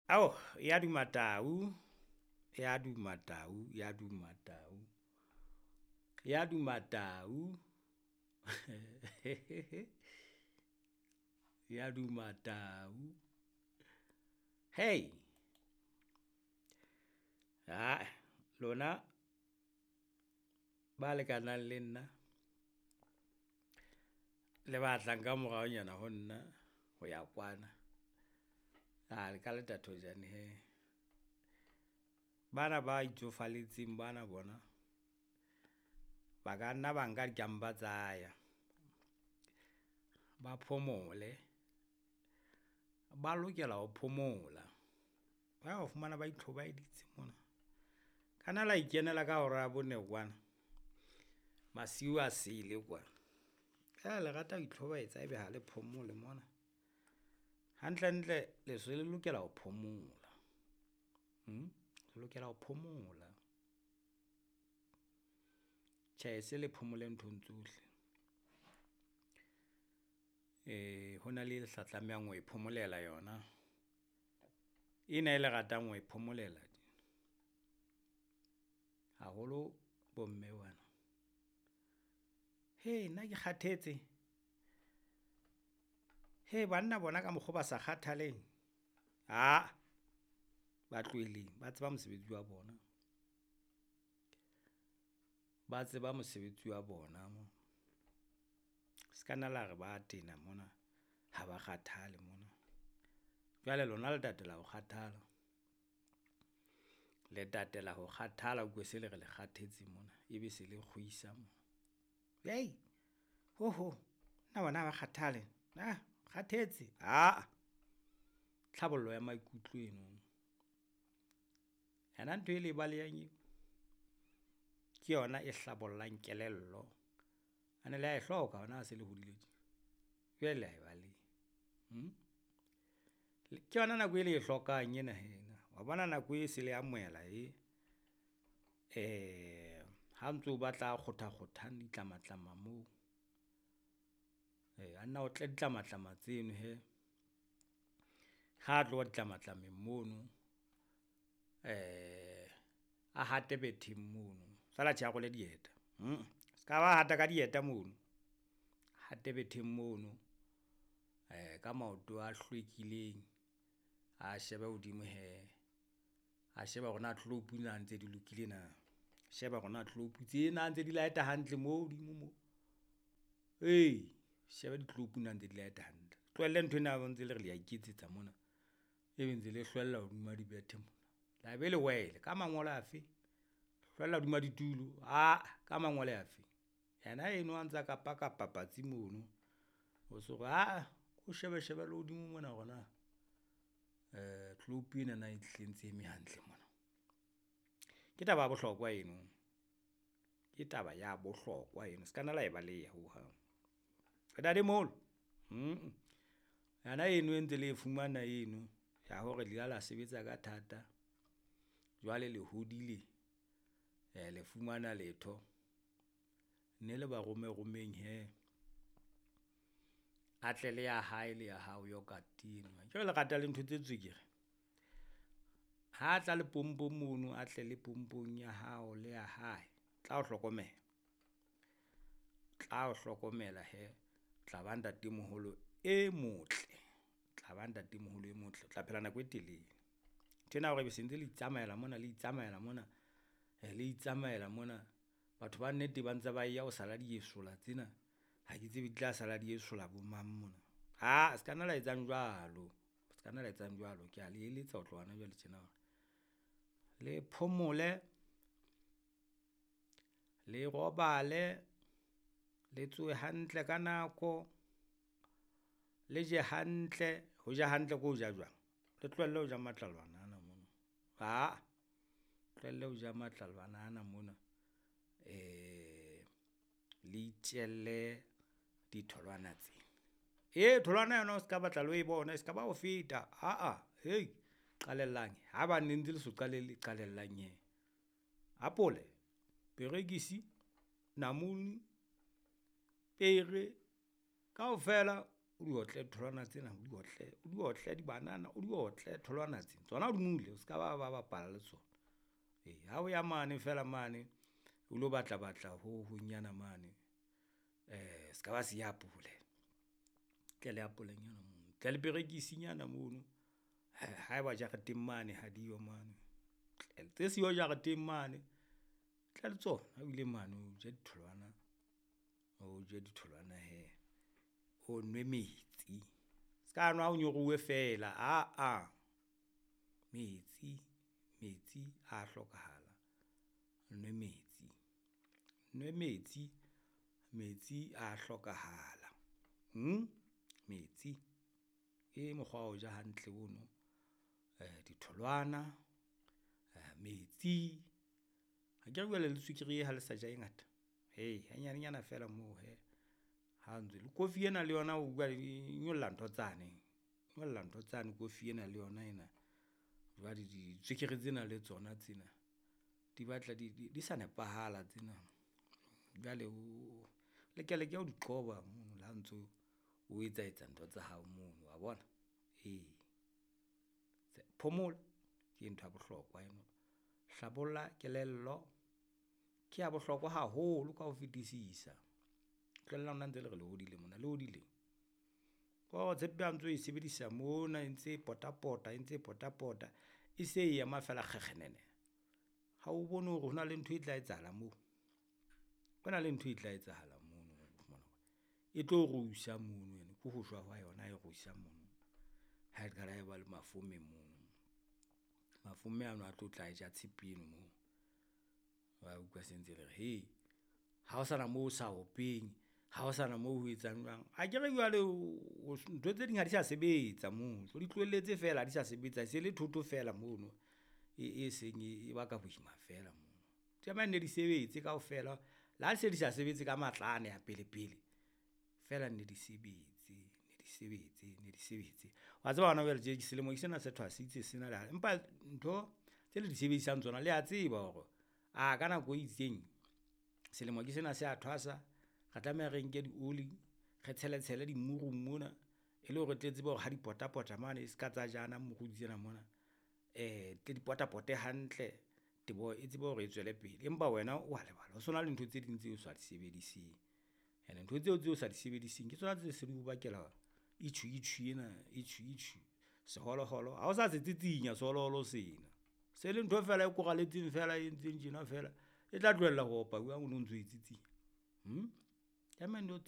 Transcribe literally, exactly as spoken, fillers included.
Ao, ya duma tau, ya duma tau, ya duma tau, ya duma tau, ya duma tau. Hei ae lona ba lekanang le nna le ba tlang ka moraonyana ho nna ho ya kwana. Aa le ka le tatojane hee. Bana ba itsofalletseng bana bona ba ka nna ba nka dikampa tsa ya, ba phomole. Ba lokela ho phomola, ba o fumana ba itlhobaeditse mona. Ka nna la ikenela ka hora ya bone kwana, masiu a sele kwana. Le rata ho itlhobaetsa ebe ha le phomole mona. Hantlentle le se le lokela ho phomola mm, le lokela ho phomola. Tjhe, se le phomole nthong tsohle. Ho na le e le sa tlamehang ho e phomolela yona, ena e le ratang ho e phomolela haholo bomme bana. Hee nna ke kgathetse, hee banna bona ka mokgo ba sa kgathaleng aa, ba tlohelleng ba tseba mosebetsi wa bona. Ba tseba mosebetsi wa bona mo, se ka nna la re ba tena mona ha ba kgathale mona. Jwale lona le tatela ho kgathala, le tatela ho kgathala, o utlwe se le re le kgathetse mona ebe se le kgwisa mona. Hei hoho nna bona ha ba kgathale ah kgathetse aa, tlhabollo ya maikutlo eno. Yona ntho e le e balehang eo, ke yona e hlabollang kelello ene le ya e hloka hona ha se le hodile tje, jwale le ya e baleha mm. Ke yona nako e le e hlokang ena hee ena, wa bona nako e se le amohela e. Ha ntso batla a kgothakgothang ditlamatlama moo, a nna otle ditlamatlama tseno hee. Ha tloha ditlamatlameng mono a hate betheng mono, feela tjhe a rwale dieta mm, ska ba hata ka dieta mono, hate betheng mono ka maoto a hlwekileng, a shebe hodimo hee, a shebe hore na tlopu na ntse di lokile na, sheba hore na tlopu tse na ntse di light-a hantle mo hodimo mo. Ee, shebe ditlopu na ntse di light-a hantle, tlohelle nthwena ya ntse le re le ya iketsetsa mona, ebe ntse le hlwella hodima dibethe mona, tla be le wele ka mangolo afe, hlwella hodima ditulo aa ka mangole afe. Yena eno a ntsa kapakapa patsi mono, o so re aa ko shebe shebe le hodimo mona hore na tlopu ena na e hlile e ntse eme hantle mona. Ke taba ya bohlokwa eno, ke taba ya bohlokwa eno ska nna la e baleha hohang. Ntatemoholo mm, yona eno e ntse le e fumana eno ya hore le ile la sebetsa ka thata, jwale le hodile le fumana letho. Ne le ba rome romeng hee, a tle le ya hae le ya hao yoghurt eno, akere le rata le ntho tse tswekere. Ha tla le pompong mono, a tle le pompong ya hao le ya hae, tla o hlokomela, tla o hlokomela hee tla ba ntatemoholo e motle, tla ba ntatemoholo e motle, o tla phela nako e telele. Nthwena ya hore ebe sentse le itsamaela mona, le itsamaela mona, le itsamaela mona. Batho ba nnete ba ntse ba eya ho sala diesola tsena, ha ke tsebe di tla sala di esola bo mang mona. Aa ska nna la etsang jwalo, ska nna la etsang jwalo ke a le eletsa ho tloha hona jwale tjena hore le phomole, le robale, le tsohe hantle ka nako, le je hantle, ho ja hantle ke ho ja jwang? Le tlohelle ho ja matlalwana ana mona, aa tlohelle ho ja matlalwana ana mona le itjelle ditholwana tse. Ee tholwana yona o ska batla le ho e bona e ska ba o feta aa, hei qalellang haebane ne ntse le so qalelle qalellang hee. Apole, perekisi, namune, pere kaofela. O di otle ditholwana tsena, o di otle, o di otle dibanana, o di otle tholwana tse. Tsona o di mule o ska ba ba bapala le tsona. Ee ha o ya mane feela mane o lo batla batla ho hongnyana mane, ska ba siya apole, tle le apolenyana mono, tle le perekisinyana mono haeba jareteng mane ha diyo mane, tse siyo jareteng mane tla le tsona ha o ile mane o je ditholwana, o je ditholwana hee, o nwe metsi ska nwa o nyoruwe feela aa, metsi metsi a hlokahala, o nwe metsi, nwe metsi, metsi a hlokahala metsi. Ke mokgwa wa ho ja hantle ono, ditholwana, metsi, akere jwale le tswekere e ha le sa ja e ngata, hee hanyanenyana feela moo hee, ha ntso le kofi ena le yona e nyolla ntho tsane, e nyolla ntho tsane kofi ena le yona ena. Jwale ditswekere tsena le tsona tsena di batla di sa nepahala tsena, jwale o lekeleke ho di qoba mono le ha o ntso o etsa etsa ntho tsa hao mono wa bona, ee. Phomola ke ntho ya bohlokwa eno, hlabolla kelello ke ya bohlokwa haholo ka ho fetisisa. Tlohellang lona ntse le re le hodile mona, le hodileng? Kore tshepe ha o ntso e sebedisa mona e ntse e pota pota, e ntse e pota pota, e se e ema feela kgekgenene, ha o bone hore hona le ntho e tla etsahala moo? Ho na le ntho e tla etsahala mono e tlo rusa mono ene ke ho shwa hwa yona e rusang mono, ha e qala e ba le mafome mono. Mafome ano a tlo tla ja tshepe eno moo, wa utlwa se ntse le re hei ha ho sana moo ho sa openg, ha ho sana moo ho etsang jwang, akere jwale ntho tse ding ha di sa sebetsa mono, so di tlohelletse fela ha di sa sebetsa e se le thoto fela mono e seng e baka boima fela mono. Tlameha nne di sebetse kaofela, le ha se di sa sebetse ka matla ane a pele pele, feela nne di sebetse, ne di sebetse, ne di sebetse. Wa tseba hona jwale tje selemo ke sena se thwasitse sena empa ntho tse le di sebedisang tsona le a tseba hore ah ka nako e itseng selemo ke sena se a thwasa, re tlameha re nke dioli, re tshele tshele dimurung mona e le hore re tle tsebe hore ha di pota pota mane e ska tsa jana moru tsena mona, tle di potapote hantle teboho e tsebe hore e tswele pele. Empa wena wa lebala ho so na le ntho tse ding tseo o sa di sebediseng, ene ntho tseo tseo sa di sebediseng ke tsona tse se di o bakela itjhuu itjhuu ena, itjhuu itjhuu, seholoholo ha o sa se tsitsinya seholoholo sena, se le ntho fela e koralletseng feela e entseng tjena feela, e tla tlohella ho opa jwang o no ntso e tsitsinya. Tlameha nno .